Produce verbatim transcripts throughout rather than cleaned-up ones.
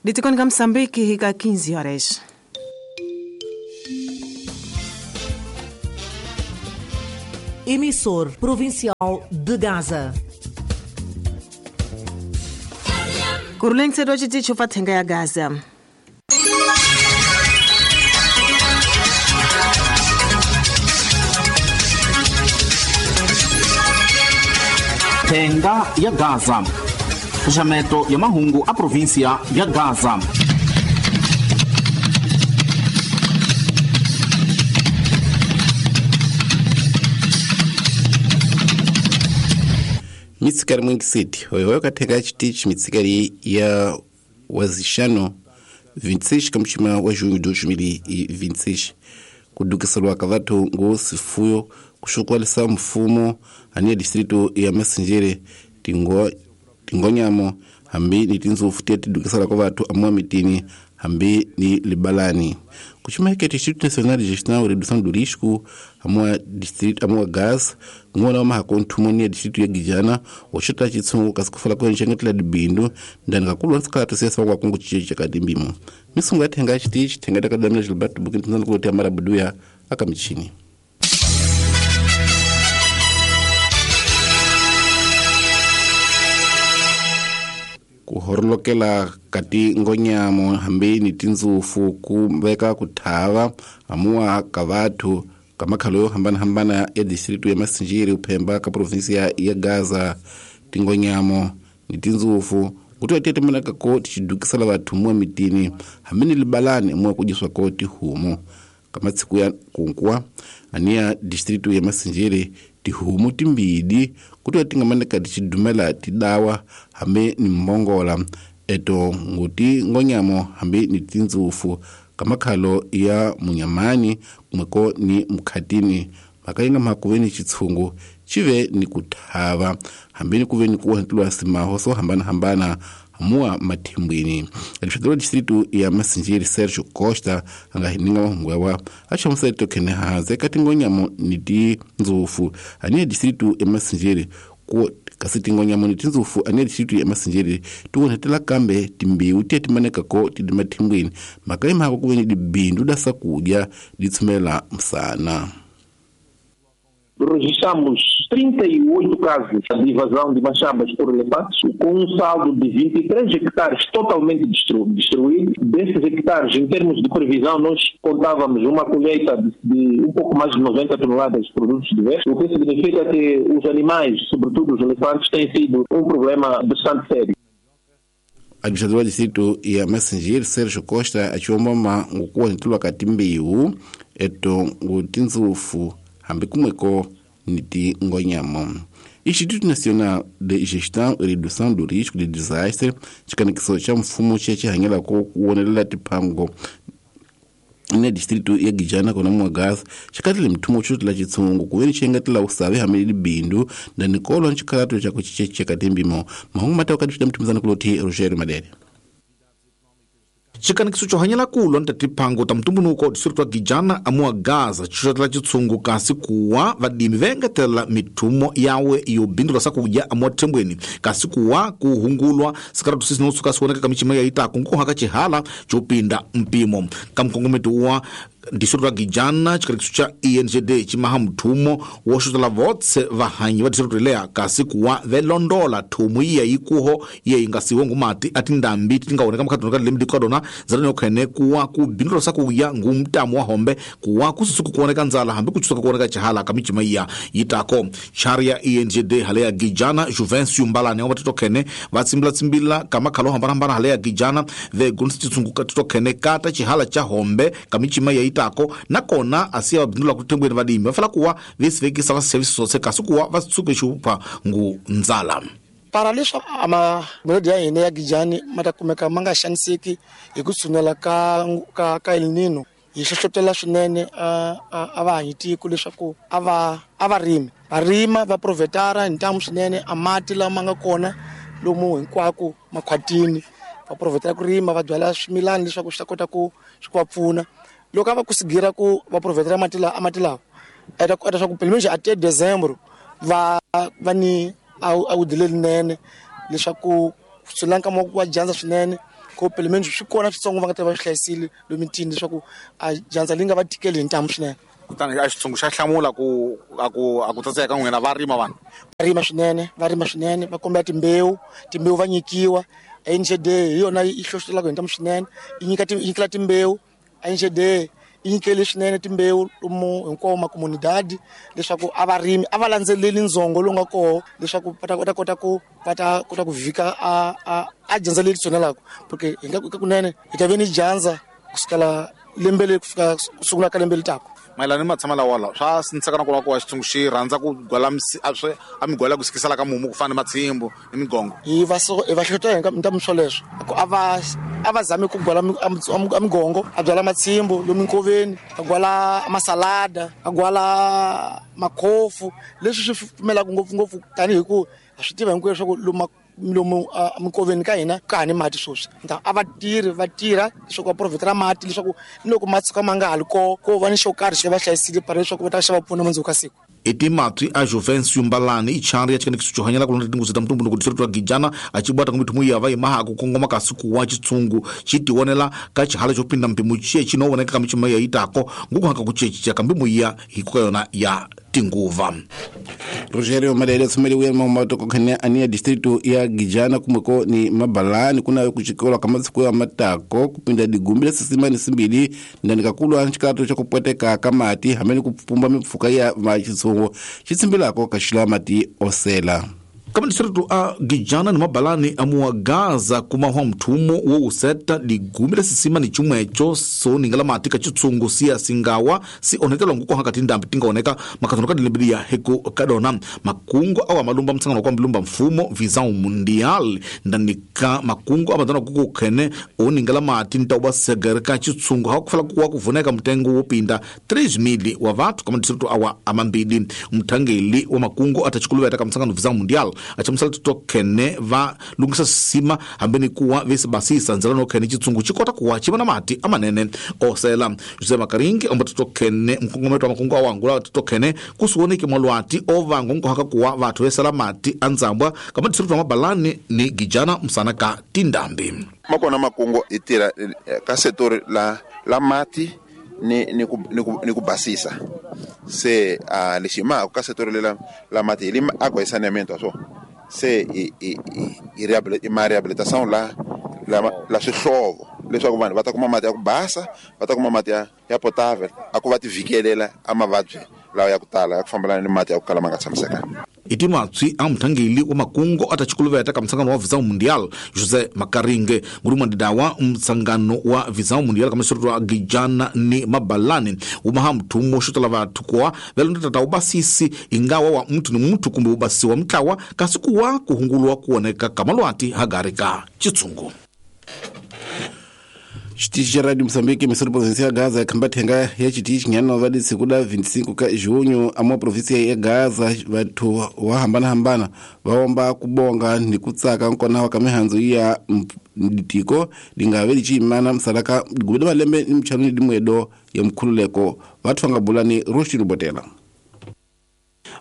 Litikoni ka Moçambique hika quinze horas. Emissor Provincial de Gaza. Kurulengse do tshitshi fa thenga ya Gaza. Thenga ya Gaza. Fechamento ya mahungu a província ya Gaza. Mitsikari mwingi city hoyo kathenga chitichi mitsikari ya wazishano vinte e seis kamuchima wa junho de dois mil e vinte e seis kudukiselwa ka vathu ngo sifuyo kuxukwalisa mfumo aniya distrito ya Masinjere tingo tingonyamo hambi ni tinzofu tiya tidukisela kwa vathu amwa mitini hambi ni libalani kuchimeke Instituto Nacional de Gestão e Redução do Risco amwa distrito amwa gas ngona wa mahako nthumoni ya distrito ya Gijana oxota chitsungu kasi kufala kwa nxengetela dibindu ndani kakulu nsikalato siyasa kwa kungu chicheche kadimbimo misungu ya thenga chitichi thenga takadamina Gilberto Bukintinzana kulotea marabuduya akamichini. Kuhorolokela kati ngonyamo hambi ni tinzufu ku veka kuthava amuwa ka vathu ka makhalo yo hambanahambana ya distrito ya Masinjiri uphemba ka provinsia ya Gaza. Tingonyamo ni tinzufu kuti atetemanaka ko tichidukisela vathu muwa mitini hambi ni libalani muwa kudyiswa ko tihumu kamatsiku ya kunkuwa aniya distrito ya Masinjiri tihumu timbidi kuti atingamaneka tichidumela tidawa hambi ni mbongola eto nguti ngonyamo hambi ni tinzufu kamakhalo ya munyamani kumweko ni mukhatini makainga makuveni chitsungu chive ni kuthava hambi ni kuveni kuwantilwa simaho so hambana hambana hamuwa mathimbwini. Administrador distrito ya Masinjiri Sergio Costa anga hininga mahungu yawa achamusa tokhene haze kati ngonyamo ni tinzufu aniya distrito ya Masinjiri ku kasi tingonyamo ni tinzufu aniya distrito ya Masinjiri tuwonhetela kambe timbiwu tiye timaneka ko tidi mathimbwini makaima hako kuveni dibindu da sakudya ditsumela msana. Registramos trinta e oito casos de invasão de machambas por elefantes, com um saldo de vinte e três hectares totalmente destru- destruídos. Desses hectares, em termos de previsão, nós contávamos uma colheita de, de um pouco mais de noventa toneladas de produtos diversos, o que significa que os animais, sobretudo os elefantes, têm sido um problema bastante sério. Administrador distrito ya Masinjiri Sergio Costa achiwombama ngukuwantilwa katimbiwu eto ngutinzufu hambi kumweko ni tingonyamo. Instituto Nacional de Gestão e Redução do Risco de Desastre chikanikiso cha mfumo che chihanyelako kuwonelela tiphango ne distrito ya Gijana kona mwagaza chikatile mthumo chotela chitsungu kuveni chengatela usavi hamili bindu na nikolo nchikhalato chako chicheche katimbimo mahungu matao kati mtumizana kuloti Rogerio Madere. Chikanikiso chohanyela kulo ntatiphango ta mtumbunuko distrito wa Gijana amuwa Gaza chotela chitsungu kasi kuwa vadimi vengetela mithumo yawe yobindula sakudya amuwa thembweni kasi kuwa kuhungulwa sikaratu sisi notsuka sioneka kamichima yaitako nkuhaka chihala chopinda mpimo kamkongometi wa distrito wa Gijana chikanikiso cha E N G D chimaha mthumo woxotela votse vahanyi va distrito leya kasi kuwa velondola thumu iya yikuho iye yingasiwe ngumati atindambi titingaoneka mukhatunaka lembi dikadona zalani okhene kuwa kubindula sakuya ngumtamu wa hombe kuwa kususuku kuoneka nzala hambi kuchusuka kuoneka chihala kamichima iya yitako. Chari ya E N G D hale ya Gijana Juvencio Mbalane wa titokhene vatsimbila kamakhalo hambanahambana hale ya Gijana vegonisa chitsungu titokhene kata chihala cha hombe kamichima iya yitako nakona asiya vabindula kuthembweni vadimi vafala kuwa vesivekisa va service sose kasi kuwa vatsuke xupha ngu nzala. Para leswaku a melodi ya hina ya Gijani ma ta kumeka ma nga xaniseki hi ku tshunela ka ka ka El Nino hi hlohlotela swinene a a va hanyi tiko leswaku a va a va rimi va rima va provetara hi ntamu swinene a mati lama nga kona lomu hinkwako makhwatini va provetara ku rima va byala swimilani leswaku swi ta kota ku swi ku va pfuna loko a va kusigira ku va provetara mati lawa a mati lawa eta ku eta swa ku pelo menos até dezembro va va ni a wu dile linene leswaku swi lanka mo wa dyandza swinene Ko pelo menos swi kona switsongo va nga ta va swi hlayisile lomitini leswaku a dyandza li nga va tikeli hi ntamu swinene. Kutani a xitshungu xa hlamula ku a ku a ku tsatseka ka n'wina va rima vanhu va rima swinene va rima swinene va kombela timbewu timbewu va nyikiwa. N G D hi yona yi hlohlotelaka hi ntamu swinene, yi nyika yi nyikela timbewu. N G D yi nyikele swinene timbewu lomu hinkwawo makomunidadi leswaku a va rimi a va landzeleli ndzongo lowu nga koho leswaku va ta va ta kota ku va ta kota ku vhika a a a dyandza leri tshunelaka, porque hi nga ka kunene hi ta ve ni dyandza kusukela lembe leri ku fika ku sungula ka lembe leri taka. Mayelana ni matshama lawa lawa swa sindziseka na ku va ku wa xitshungu xi rhandza ku gwala a swi a migwala ku sikisela ka mumu ku fana ni matshimbu ni migongo. Hi va so hi va hlohletela hi ntamu swoleswo ku a va a va zami ku gwala a migongo, a byala matshimbu lomu nkoveni, a gwala masalada, a gwala makhofu, leswi swi pfumelaka ngopfungopfu tanihi ku ha swi tiva hinkwenu leswaku lomu lomu minkoveni ka hina ka ha ni mati sweswi. A va tirhi va tirha leswaku va provhitela mati leswaku ni loko ma tshuka ma nga ha ri koho ko va ni xo karhi xi va hlayisile para leswaku va ta xa va pfuna mundzuku ka siku. I timatwi a Juvencio Mbalani i chari ya chikanekisi xo hanyela ku londza tinguzi ta mutumbuluko distrikiti wa Gijana a ci bwata kumbe thumu ya va yimaha ku kongoma kasi ku wa xitshungu xi tionela ka xihala xo pinda mpimo xiye xi no voneka ka michuma ya yitako nguku haka ku ceca kambe muya hi ku ka yona ya tinguva. Rogerio Malele tsumeliwe mamatoko khane ania distrito ya Gijana kumweko ni Mabalani kuna kuchikolwa kama siku ya matako kupinda digumbi sisima ni simbili ndani kakulwa nchikato cha kupweteka kamati hamene kupumba mifuka ya machitsungu chitsimbilako kashila mati osela. Kama distrito a Gijana ni Mabalani amuwa Gaza kumahwa mthumo wo useta ligumi lesisima ni chumwecho so ningala mati ka chitsungu siya singawa si onetela nguko hakati ndambi tingaoneka makathono ka dilembili ya heko kadona makungu awa malumba mtsangano kwa mlumba mfumo Visão Mundial ndani ka makungu abandona kuku khene oningala mati ntauba segereka chitsungu hakufala kuwa kuvuneka mtengo wopinda três mil wa vatu kama distrito awa amambili. Mthangeli wa makungu atachikuluveta ka mtsangano Visão Mundial achamusala titokene va lungisa sima hambeni kuwa vesibasisa ndzela no khene chitsungu chikota kuwa chiva na mati amanene osela. Jose Makaringi omba titokene mkongometo wa makungu awangula titokene kusuoneke mwalwati ovango nkohaka kuwa vathu vesela mati andzambwa kama distrito wa Mabalani ni Gijana msana ka tindambi. Makona makungu itira ka setor la la mati ni ni ku ni ku basisa se a lexima ka setor la la mati li água e saneamento so se i i i ma reabilitação la la la swihlovo leswaku vanhu va ta kuma mati ya ku basa, va ta kuma mati ya ya potável a ku va ti vikelela a mavabyi lawa ya ku tala ya ku fambelana ni mati ya ku kala ma nga tshamisekanga. Itimatswi a mthangeli wa makungu atachikuluveta ka mtsangano wa Visão Mundial Jose Makaringe nguruma ndidawa mtsangano wa Visão Mundial kama distrito wa Gijana ni Mabalani umaha mthumo xotala vathu kuwa velondota ta ubasisi ingawa wa muthu ni muthu kumbe ubasisi wa mtlawa kasi kuwa kuhungulwa kuoneka kamalwati hagari ka chitsungu. Chitichi cha Radio Moçambique emissora província ya Gaza yakhamba thenga ya chitichi nyana va disiku la vinte e cinco ka junho amwa província ya Gaza vathu wa hambana hambana vaomba kubonga ni kutsaka nkona wa kamihandzo ya ditiko lingave lichimana msalaka gubida malembe ni mchano ni dimwedo ya mkhululeko vathu vangabulani Rushi Rubotela.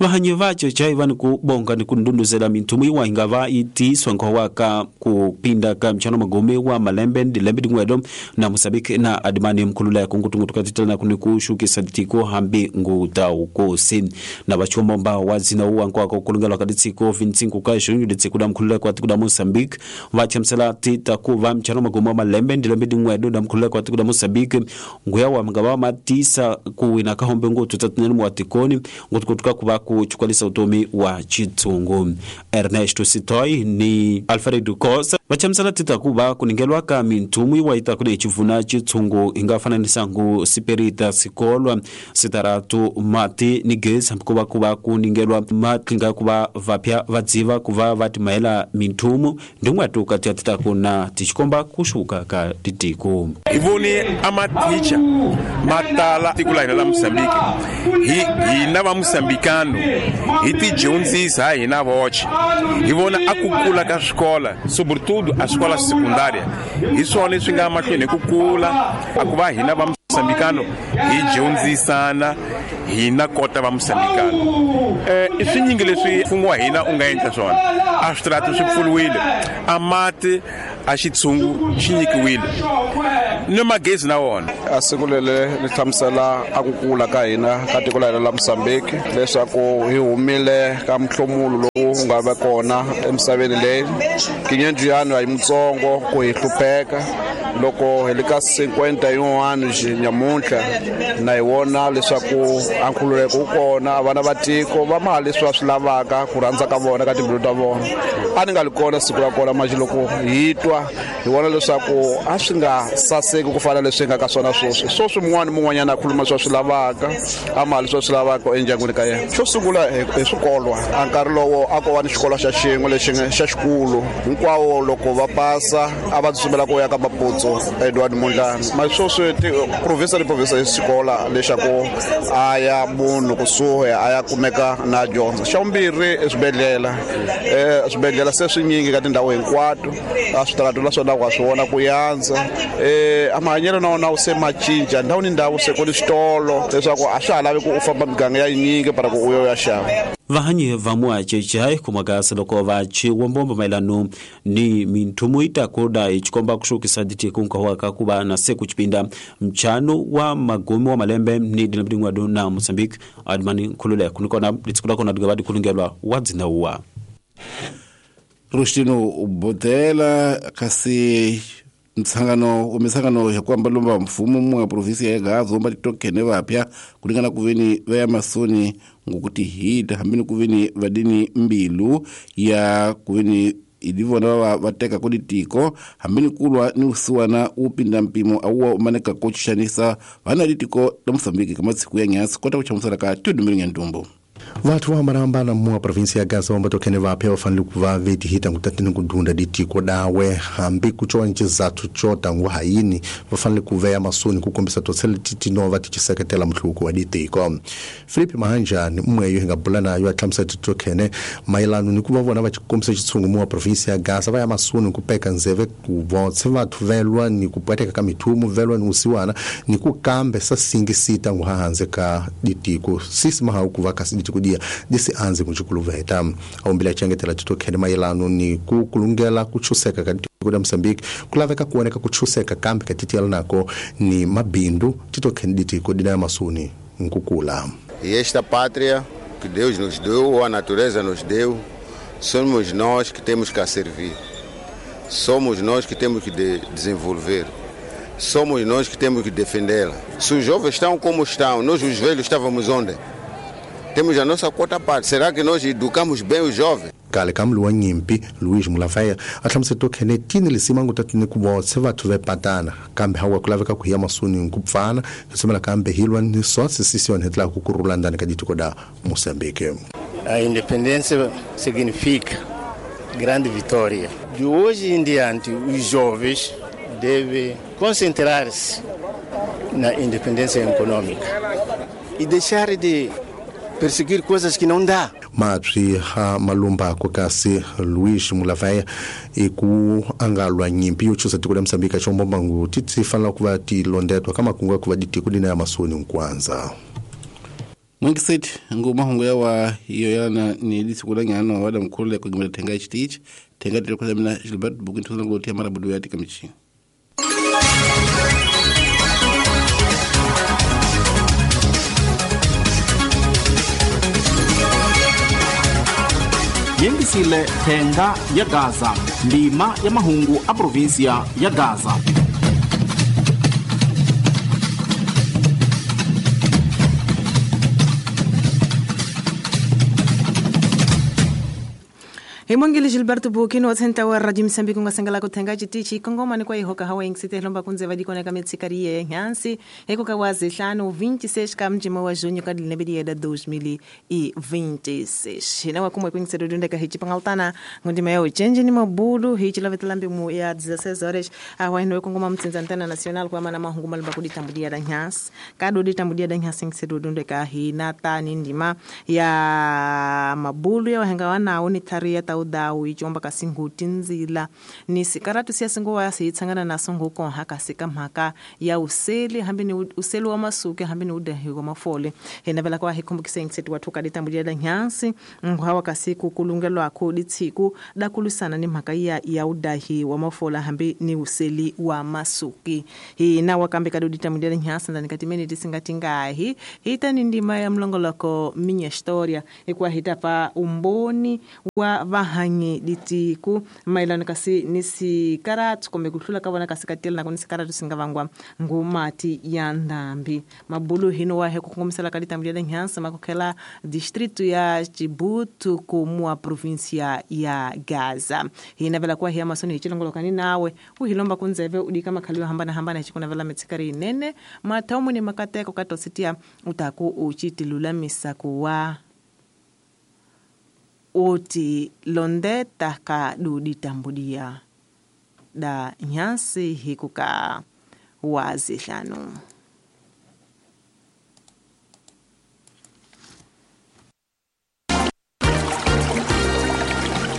Vahanyi vacho chaiva ni kubonga ni kundunduzela minthumu iwa ingava itiswa nkhowa ka kupinda ka mchano magome wa malembe ndi lembe dingwedo na Moçambique na adimani mkhululeko nkutungutu katitela kuni kushukisa tiko hambi ngutaukosi na vachomomba wazina uwa nkwako kulungelwa ka ditsiko vinte e cinco ka junho ditsiko da mkhululeko wa tiko da Moçambique vachamisela tita kuva mchano magome wa malembe ndi lembe dingwedo da mkhululeko wa tiko da Moçambique nguya wa mngava matisa kuwina kahombe ngutu tatinene muwatikoni ngutukutuka kuva kuchukwalisa utomi wa chitsungu. Ernesto Sitoy ni Alfredo Costa vachamisela tita kuva kuningelwa ka minthumu iwa ita kune chivuna chitsungu ingafananisa ngu siperita sikolwa sitaratu mati ni gesi kuva kuva kuningelwa matlinga kuva vapya vadziva kuva vatimaela minthumu ndingwatu kati ya tita kuna tichikomba kushuka ka titiko. Ivoni amaticha matala tiko la hina la Moçambique hi hina va Moçambicano hi tidyondzisa hina voce hi vona a ku kula ka swikola sobretudo a escola secundária hi swona leswi nga mahlweni hi ku kula a ku va hina va Mosambikano hi dyondzisana hina kota va Mosambikano. Eh i swinyingi leswi mfumo wa hina u nga endla swona. A switarata swi pfuriwile, a mati a xitshungu xi nyikiwile ni magezi na wona. A siku lele ri hlamusela a ku kula ka hina ka tiko la hina la Mozambique leswaku hi humile ka mhlomulo lowu nga va kona emisaveni leyi. Kinyenjiyano a yi mutsongo ku hi hlupheka loko hi le ka cinquenta yin'wana nyamuntlha na hi vona leswaku a nkhululeko wu kona, vana va tiko va ma leswi va swi lavaka ku rhandza ka vona ka timbilu ta vona. A ni nga li kona siku ra kona manje loko hi twa hi vona leswaku a swi nga saseki ku fana leswi nga ka swona sweswi. Sweswi mun'wana mun'wanyana a khuluma leswi a swi lavaka, a ma leswi a swi lavaka endyangwini ka yena. Xo sungula hi swikolo, a nkarhi lowo a ko va ni xikolo xa xin'we lexi xa xikulu hinkwawo loko va pasa a va tsutsumela ku ya ka Maputsu Edward Mondlane. Ma sweswi province ni province hi xikola lexaku a ya munhu kusuhi a ya kumeka na dyondzo. Xa vumbirhi i swibedhlele, eh swibedhlele se swinyingi ka tindhawu hinkwato, a switarata la swona wa swi vona ku yandza. Eh a mahanyelo na wona wu se ma cinca ndhawu ni ndhawu se ku ni switolo leswaku a swa ha lavi ku u famba miganga ya yinyingi para ku u yo ya xava. Vahanyi va muacheche kumagasa loko va chiwombombo maelano ni minthumu itakoda ichikomba kushukisa ditiko nkawaka kuba na seku chipinda mchano wa magumi wa malembe ni dilabdingwa na Mozambique admani nkhululeko kunikona litsikula kona digabadi kulungelwa wadzina uwa Rustino Botela kasi mtsangano umesangano ya kwamba lomba mfumo mwa provinsi ya Gaza omba tokene vapya kulingana kuveni vya masoni ngokuti hita hambini kuveni vadini mbilu ya kuveni ilivona vateka kuditiko hambini kulwa ni usuwana upinda mpimo auwa umaneka kochishanisa vana ditiko la Mozambique kama siku ya nyasi kota kuchamusala ka tudumiringa ntumbo. Vathu va hambanahambana mua provinsi ya Gaza omba tokene vapya vafanele ku va vetihita ngutatini kudunda ditiko dawe hambi kucowa ni xizathu xo tangu hayini va fanele ku veya masoni ku kombisa totsele titinova ti xiseketela mhluko wa ditiko. Filipe Mahanjani mweyo hi nga bula nayo a hlamusela titokene mayelano ni ku va vona va xikombisa xitshungu mua provinsi ya Gaza va ya masoni ku peka ndzeve ku votse vathu velwa ni ku pweteka ka mithumu velwa ni usiwana ni ku kambe sa singisita ngu hanze ka ditiko sisi mahawu ku va kasi ditiko dia disi anze kuchikuluveta aumbile achengetela titokhele mayelano ni ku kulungela kuchuseka ka ditiko da Mozambique kulaveka kuoneka kuchuseka kambe ka titiela nako ni mabindu titokhele ditiko dina masuni nkukula. E esta pátria que Deus nos deu, ou a natureza nos deu, somos nós que temos que a servir. Somos nós que temos que de desenvolver. Somos nós que temos que defendê-la. Se os jovens estão como estão, nós os velhos estávamos onde? Temos a nossa quota parte. Será que nós educamos bem os jovens? Kale ka mlu wa nyimpi Luis Mulavaya a hlamusela tokhene tini lisima ngutatini ku votse vathu ve patana kambe hawa ku laveka ku hiya masuni ku pfana tsumela kambe hilwa ni sotse sisione hetla ku kurula ndani ka ditiko da Mozambique. A independência significa grande vitória. De hoje em diante, os jovens devem concentrar-se na independência econômica e deixar de perseguir coisas que não dá. Matri ha malumba ko kasi Luis Mulavaya e ku angalwa nyimpi yo chusa tiko la Mozambique chombo mbangu titsi fanela ku va ti londetwa kama kunga ku va ditiko dina ya masoni nkwanza. Mwengisethi ngoma hongo yawa iyo yana ni lisikula nyano wada mkhulule kugimela thenga ichitichi thenga tele kwa mina Gilbert Bukintu ngotia mara budu ya tikamichi. Yengisile thenga ya Gaza, ndima ya mahungu a provinsia ya Gaza. Himongile Gilberto Bukino watsenta wa Radio Mozambique ngasangala kuthenga chitichi kongoma ni kwa ihoka hawa ingisite lomba kunze vadikoneka metsikariye nyansi eko kawazi hlanu vinte e seis ka mjima wa junho ka dilebedi da dois mil e vinte e seis. Hina wa kumwe kwingiselo dundeka hichi pangaltana ngondima ya uchenje ni mabudu hichi lavetelambi mu ya dezesseis horas awa ino kongoma mtsinza antena nacional kwa mana mahungu malumba kuditambudia da nyansi kado ditambudia da nyansi ingiselo dundeka hina tani ndima ya mabulu ya wahenga wana oni taria udhawu ichomba kasi nguti ndzila ni sikaratu siya singuwa siyitsangana naso ngukonha kasi ka mhaka ya useli hambi ni useli wa masuke hambi ni udahi wa mafole. Hinavela kwa hikumbukise ngisetu watu kaditambulia nyansi nghawa kasi kukulungelwa kuditiku dakulusana ni mhaka ya ya udahi wa mafola hambi ni useli wa masuki. Hina wakambe kaduditamulia nyansi ndani katimeni tisingatingahi hita ni ndima ya mlongoloko minya historia ikwa hitapa umboni wa vahanyi ditiku mailano kasi nisi karatu kombe kuhlula kabona kasi katela na konisi karatu singavangwa ngumati ya ndambi mabulu hino wahe kukongomisela kaditambulia nyansi makokhela distrito ya Chibutu kumua provincia ya Gaza. Hinavela kwa hiya masoni hichilongolokani nawe uhilomba kunzeve udika makhaliwa hambana hambana hichikunavela metsikari inene mataumu ni makateko katositia utaku uchitilulamisa kuwa oti londeta ka duditambudia da nyansi hikuka wazihlanu.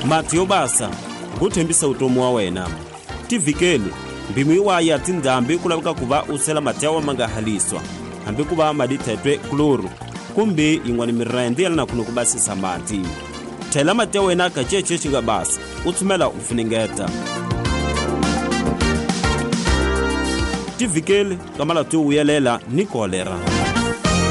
Mati basa nguthembisa utomi wa wena tivikeli mbimu iwa ya tindhambi ku laveka ku va u sela mati ya wa ma nga haliswa hambi ku va madi thetwe kloro kumbe yin'wana mirende ya lana kuno ku basisa mati. Thela mati ya wena ka cece xi nga basa u tsumela u funengeta. Tivikeli ka malati yo vuyelela ni kolera.